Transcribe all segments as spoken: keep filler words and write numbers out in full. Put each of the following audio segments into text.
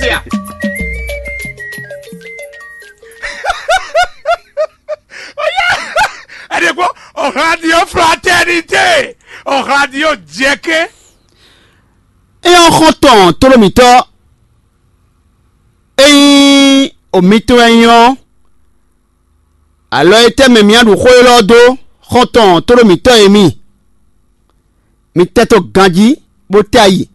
Sia. Ẹni kpɔ́n, ɔ̀hladiɔ fraternité, ɔ̀hladiɔ jɛkɛ́. Éyɔ́ xɔ́ntɔn tlóló mǐtɔn, ényí omitɔn wɛ nyí ɔ́, alɔ e tɛ́ mɛ mǐ á ɖu xó élɔ́ dó? Xɔ́ntɔn tlóló mǐtɔn e mi, mi tɛ́ tó ganjí, bó tɛ́ ayi,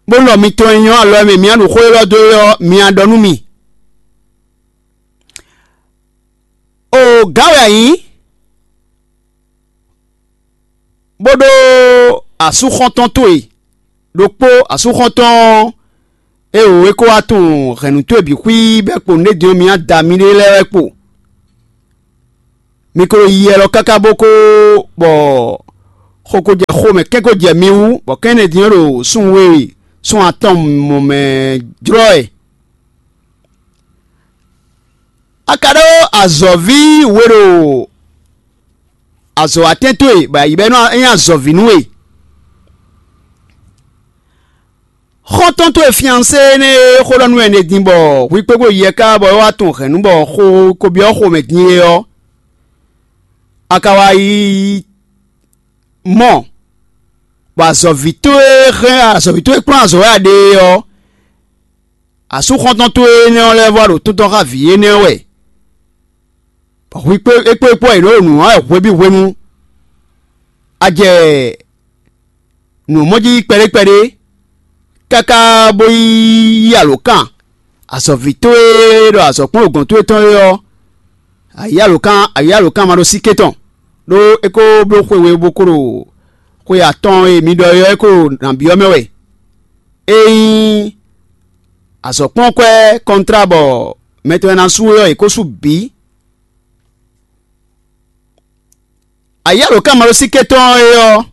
bó lɔ mitɔn e nyɔ́ alɔ e mɛ mǐ á ɖu xó élɔ́ dó é ɔ́, mi a ɖɔ nú mì. Oo, gǎn wɛ a nyǐ, bó ɖó asú xɔ́ntɔn towe ɖokpó, asú xɔ́ntɔn ɔ́, é wǒ é kó wá tunwun hɛ̌nnu towe bǐ xwíí bɛ́ kpo nǔɖé din ɔ́, mi á da miɖée lɛ́ɛ wɛ kpo. Mi ko yi yɛ lɔ káká bó kó bɔ xo ko jɛ xomɛ kɛ́n ko jɛ mi wú, bɔ kɛ́n énɛ́ din ɔ́ ɖo súnnu we, súnnu atɔn mɔ mɛ jlɔ́ wɛ. A ka ɖó azɔ̌ví we ɖo azɔ̌watɛn towe, bɔ a yi bɔ é nɔ nyí azɔ̌ví nú we. Xɔ́ntɔn towe fiansé énɛ́ e xó ɖɔ nú wɛ din bɔ hwi kpégbó yɛ ká bɔ é wá tunwun hɛ̌nnu bɔ xo ko byɔ́ xomɛ din é ɔ́, a ka wá yi mɔ, bɔ azɔ̌ví towe hɛn azɔ̌ví towe kplɔ́n azɔ̌ wɛ a ɖe é ɔ́, asú xɔ́ntɔn towe énɛ́ ɔ́ lɛ́ vɔ ɖo tɔ́ntɔ́n xá vǐ énɛ́ ɔ́ wɛ, bɔ hwi kpé é kpó é kpó wɛ yě nɔ ɖo nǔ wa wɛ hwebǐ hwenu. A jɛ nǔ mɔ jí kpɛɖé kpɛɖé, káká bó yi yí alǒkan azɔ̌ví towe e ɖɔ azɔ̌kplɔ́n gɔ̌n towe tɔn é ɔ́, a yí alǒkan a yí alǒkan ma ɖó síké tɔn, ɖó é ko bló xwe we bó ko ɖo xwe atɔn e mi ɖɔ é ɔ́, é ko ɖo nǎ byɔ́ mɛ wɛ. É nyí azɔ̌kplɔ́nkwɛ́ kɔntrá bɔ mɛ tɔn e ná sú é ɔ́, è ko sú bǐ. Ayǐ alǒkanmaɖósíké tɔn ɔ́ é ɔ́,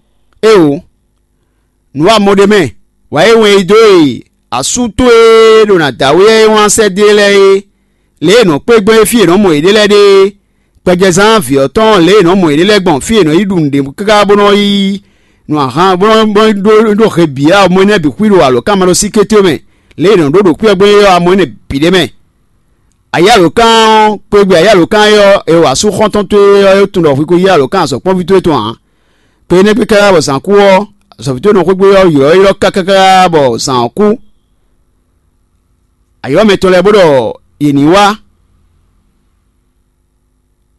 éeǒ, nǔ wa mɔ ɖ'é mɛ, wǎ e wɛn yi dó e asú towe e ɖo nǎ da wé ɔ́ é wlán sɛ́ dó e lɛ́ɛ é, lě e è nɔ kpé gbɔn é fí è nɔ mɔ yěɖée lɛ́ɛ ɖe é, gbɛjɛzán vǐ ɔ́ tɔn lě e è nɔ mɔ yěɖée lɛ́ɛ gbɔn fí è nɔ yi ɖu nǔɖé káká bó nɔ yí nǔ ahan bó nɔ bó nɔ ɖó ɖó he bǐ ɔ́, mɔ énɛ́ bǐ xwí ɖo alǒkanmaɖósíké towe mɛ, lě e è nɔ ɖó ɖo kwígbɛ́ gbɔn é ɔ́, amɔ énɛ́ bǐ ɖ'é mɛ. Ayǐ alǒkan ɔ́, kpegbe ayǐ alǒkan é ɔ́, è wa asú xɔ́ntɔn towe ɔ́ é tunwun ɖɔ hwi ko yí alǒkan azɔ̌kpɔ́nví towe tɔn ǎ. Kpe énɛ́ gbe káká bɔ zǎn kú ɔ́, azɔ̌ví towe nɔ xwé gbe ɔ́ ylɔ́ ylɔ́ káká bɔ zǎn ɔ́ kú. Ayǐ ɔ́ mɛ tɔn lɛ́ɛ bó ɖɔ yě ní wá,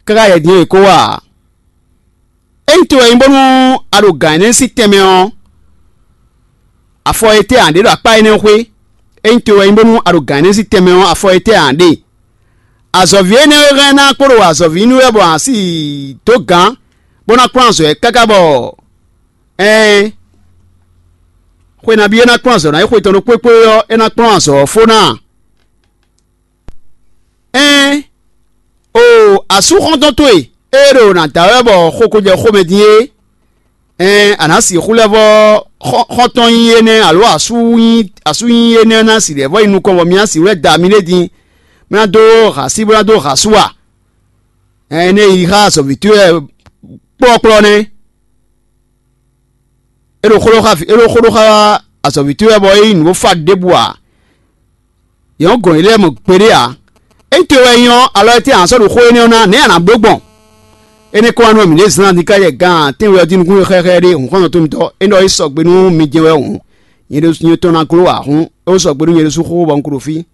káká yɛ din ɔ́ yě kó wá ǎ. Ényí towe wɛ nyí bónú a ɖo gǎn énɛ́ sín tɛnmɛ ɔ́, afɔ e tɛ́ a ɖě ɖo akpá énɛ́ xwé? Ényí towe wɛ nyí bónú a ɖo gǎn énɛ́ sín tɛnmɛ ɔ́, afɔ e tɛ́ a ɖe? Azɔ̌ví énɛ́ e hɛn ná kpo ɖo azɔ̌ví nú wɛ bɔ a si dó gǎn, bó ná kplɔ́n azɔ̌ ɛ káká bɔ ɛɛn, xwe nabí é ná kplɔ́n azɔ̌ ná é xwe tɔn ɖokpó kpó ɔ́, é ná kplɔ́n azɔ̌ ɔ́ fó ná a? Ɛɛn, oo, asú xɔ́ntɔn towe e ɖo nǎ da wɛ bɔ xo ko jɛ xomɛ din é, ɛɛn, a nǎ sixú lɛ́ vɔ́ xɔ́ntɔn nyí énɛ́, alo asú nyí asú nyí énɛ́ ná si lɛ̌ vɔ́ yi nukɔn bɔ mi ná sixú lɛ́ da miɖée din, bó ná dó ha sí bó ná dó ha sú a? Ɛɛn, énɛ́ yi xá azɔ̌ví towe wɛ kplɔ́kplɔ́ nɛ́. É ɖo xó ɖó xá é ɖo xó ɖó xá azɔ̌ví towe wɛ bɔ é nyí nǔ bó fá ɖěbǔ ǎ. Yě nɔ́ gɔn yě lɛ́ɛ mɔ gbeɖé ǎ. Ényí towe wɛ nyí ɔ́, alɔ e tɛ́ a nǎ sɔ́ ɖo xó énɛ́ ɔ́ ná, nɛ̌ a nǎ bló gbɔn? Énɛ́ kɔn wá nú mǐ ɖě zán díká yɛ gan tɛ́nwe ɔ́ jí nukúnnú xɛxɛ ɖé hun xɔ́ntɔn tɔn mitɔ́, é ɖɔ é sɔgbe nú mi jɛ́n wɛ hǔn, nyɛ ɖésú nyɛ tɔn ná gló ǎ hǔn, é wó sɔgbe nú nyɛ ɖésú xóxó bɔ un ko ɖo fí.